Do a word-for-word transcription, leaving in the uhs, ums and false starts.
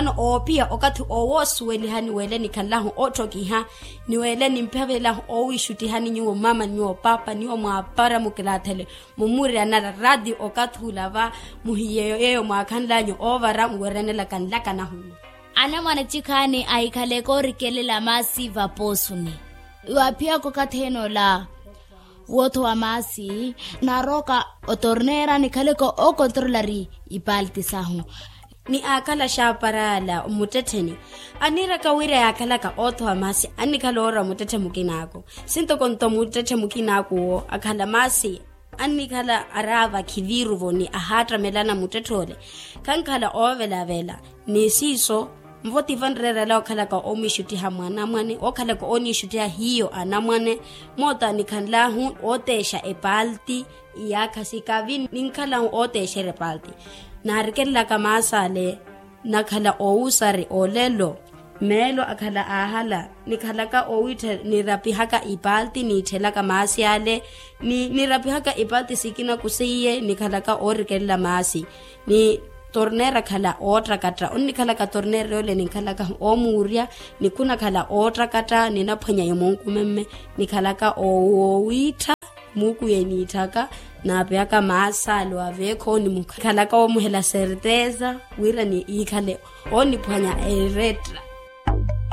Ano oophiya okathi owoosuwelihani wele nikhanlahu otthokiha, ni wele nimphavelahu owiixuttihani nyuwo mama nyuwo papa nyuwo mwaapara mukilaathele mumuryanara rati okathi ula va muhiyeyo yeyo mwaakhanlanyu oovara muwerenelaka nlaka nahuma. Anamwane cikhaani ahikhaleke orikelela maasi vapoosuni. Waaphiyaka okathi ene ola wootho wa maasi, naarooka otorneera nikhaleke okontrolari ipalti sahu. Ni aakhala xaaparala muttettheni, aniiraka wira yaakhalaka ootho wa maasi annikhala oora muttetthe mukinaako. Sintoko nto muttetthe mukinaako owo akhala maasi annikhala araava khiviiruvo ni ahaattamelana muttetthe ole. Khankhala oovelavela ni siiso. Nvo tiva nreerela okhalaka omwiixuttiha mwanamwane okhalaka oniixuttiha hiyo anamwane. Moota nikhanlahu ooteexa epalti iyaakha sikavi ninkhalahu ooteexera epalti. Naarikelelaka maasi ale nakhala owuusari olelo. Meelo akhala aahala nikhalaka owiittha nirapihaka ipalti niitthelaka maasi ale. Ni nirapihaka ipalti sikina kuseiye nikhalaka oorikelela maasi. Ni torneera akhala oottakatta onnikhalaka torneera yoole ninkhalaka oomuurya. Ni khunakhala oottakatta ninaphwanya yomonkumemme nikhalaka oowiittha. Muukuye niitthaka naapeyaka maasi ale waveekho ni mukhalaka oomuhela serteza wira ni iikhale ooniphwanya eretta.